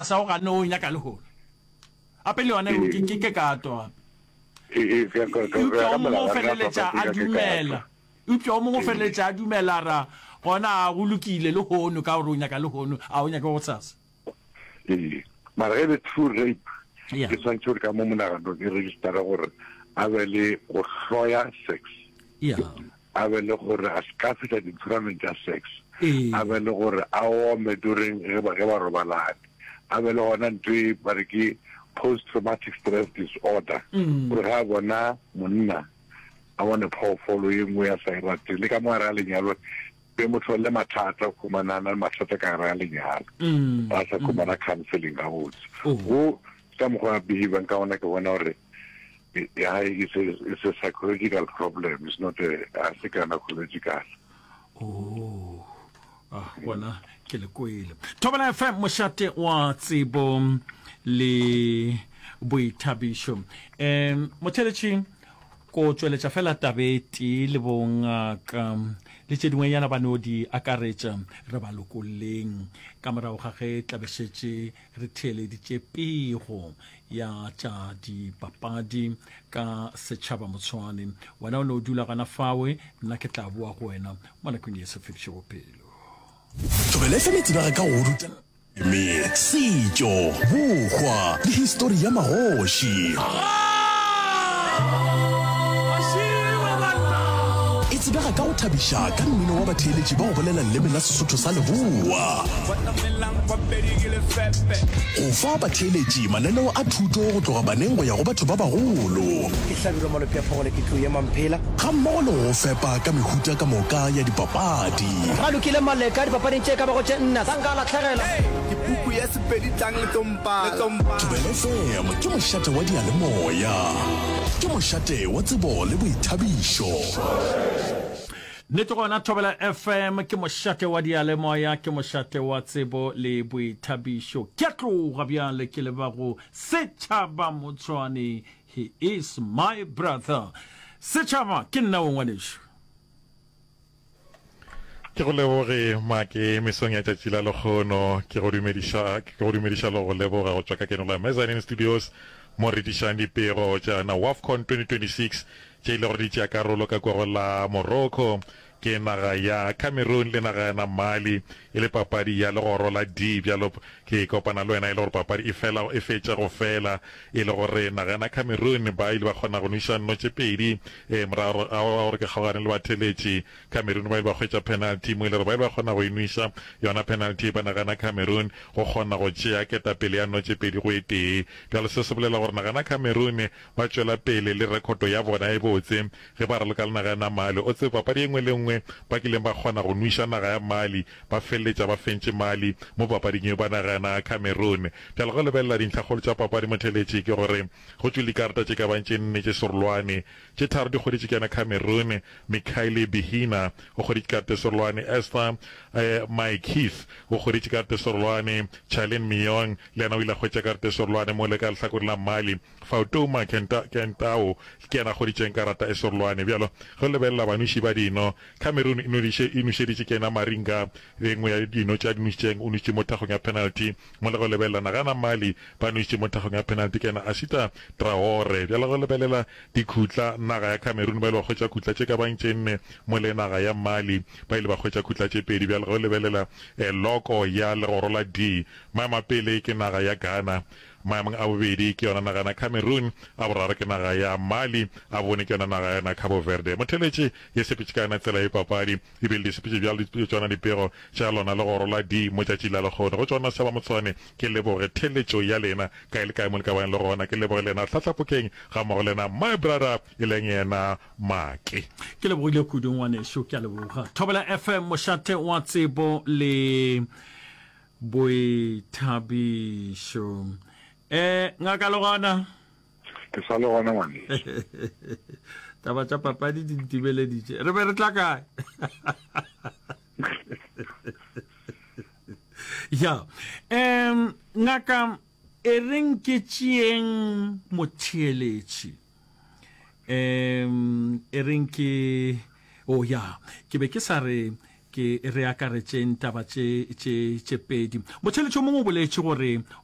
Sa o ganne o nyaka lehono. Gape le yona ke ke ke kato gape. Eupša o mongwe o feleletša a dumela. Eupša o mongwe o feleletša a dumela ra gona a go lokile lehono ka gore o nyaka lehono a o nyake gosasa. Ee, mara ge e le true rape e swanetše gore ka mo monaganong e register-e gore a be le go hloya sex. Yeah. A be le gore a se ka fihla di-tournament tša sex. A be le gore a ome during ge ba, ge ba robalane. A be le gona ntho e ba re ke post traumatic stress disorder. Gore ge a bona monna a bone phoofolo ye nngwe a sa e rateng, le ka mo gare ga lenyalo be mo hlolele mathata, o khumana a na le mathata ka gare ga lenyalo, a sa khumana counseling gabotse. Go ka mokgwa a behavang ka gona ke bona gore ya hae it's a, it's a psychological problem, it's not a, a se gynecological. Oh, ah, gona ke le kwele. Thobela FM, mošate wa tsebo le boithabišo. Um motheletši ko tšweletša fela tabe e tee le bongaka le tše dingwenyana ba no di akaretša re ba lokolleng ka morago ga ge tlabešetše Re theeleditše pego ya tša dipapadi ka setšhaba Motshwane. Wena o no dula gona fawe, nna ke tla boa go wena mo nakong ye sa fedišego pelo. Thobela FM e tsebega ka go ruta leleme, setšo, bohwa le histori ya magoši. E tsebega ka go thabiša ka mmino wa batheeletši ba go bolela leleme la Sesotho sa Leboa. Go fa batheeletši mananeo a thuto go tloga baneng go ya go batho ba bagolo. Ke Hlabirwa Malope a Phogole ke tlou ya Mamphela. Gammogo le go go fepa ka mehuta ka moka ya dipapadi. Ba lokile Maleka dipapading tše ka bago tše nne sa nka a lahlegela. Ke puku ya Sepedi tlang le tlo mpala. Thobela FM ke mošate wa diyalemoya. Ke mošate wa tsebo le boithabišo. Nnete gona Thobela FM ke mošate wa diyalemoya, ke mošate wa tsebo le boithabišo. Ke a tloga bjale ke leba go Setšhaba Motshwane, he is my brother. Setšhaba ke nna wo ngwanešu. Ke go leboge Make mesong ya tšatši la lekgono. Ke go dumediša, ke go dumediša le go leboga go tšwa ka keno la Mezzanine Studios mo re dišang dipego tša na WAFCON 2026 tše e le gore di tšea karolo ka kwa go la Morocco ke naga ya Cameroon le naga ya na Mali e le papadi ya legoro la D. Bjalo ke kopana le wena e le gore papadi e fela e fetša go fela e le gore naga ya na Cameroon ba ile ba kgona go nweša nno tše pedi e morago ga gore ke kgaogane le batheletši Cameroon ba ile ba hwetša penalty mo e le gore ba ile ba kgona go e nweša yona penalty ba nagana Cameroon go kgona go tšea ketapele ya no tše pedi go e tee. Bjalo se se bolela gore nagana Cameroon ba tšwela pele le rekhoto ya bona e botse ge ba raloka le naga ya na Mali. O tsebe papadi e nngwe le nngwe ba kileng ba kgona go nweša naga ya Mali ba feleletša ba fentše Mali mo papading yeo ba naga ya na Cameroon. Bjalo ge o lebelela dintlhakgolo tša papadi motheletši ke gore go tšwile dikarata tše ka bang tše nne tše serolwane tše tharo di hweditše ke yena Cameroon Mikhaile Bihina o hweditše karata e serolwane, Esther Maekith o hweditše karata e serolwane, Charlene Miyong le yena o ile a hwetša karata e serolwane, mola ka lehlakoreng la Mali, Fautouma Kentao ke yena a hweditšeng karata e serolwane. Bjalo ge o lebelela banweši ba dino, Cameroon e nwediše e nwešeditše ke yena Maringa e nngwe ya dino tše a di nwešitšeng, o nwešitše mo thakgong ya penalty, mola ge o lebelela Nagana Mali ba nwešitše mo thakgong ya penalty ke yena Asita Traore. Bjalo ge o lebelela Dikhutla, Naga ya Cameroon ba ile ba hwetša khutla tše ka bang tše nne, mola naga ya Mali ba ile ba hwetša khutla tše pedi. Bjale ge o lebelela loko ya legoro la D, maemo a pele ke naga ya Ghana, maemong a bobedi ke yona naga ya Cameroon, a boraro ke naga ya Mali, a bone ke yona naga ya Cabo Verde. Motheletši ye sepetše ka yona tsela ye papadi e bile di sepetše bjalo di tšona dipego tša lona legoro la D mo tšatši la lehono. Go tšona Seba Motshwane ke leboge theletšo ya lena kae le kae mo le ka bang le gona. Ke leboge lena Hlahlapokeng ga mmogo le yena my brother e leng yena Make. Ke lebogile kudu ngwanešu, ke a leboga. Thobela FM, mošate wa tsebo le boithabišo. Eh, ngaka le gona? Ke sa le gona ngwanešu. Taba tša papadi di ntibeleditše. Re be re tla kae? Ya. Um, ngaka E reng ke tšeeng motheeletši. Um, e reng ke, oh ya, ke be ke sa re. Ke re akaretšeng taba tše tše tše pedi. Motheeletši o mongwe o boletše gore o.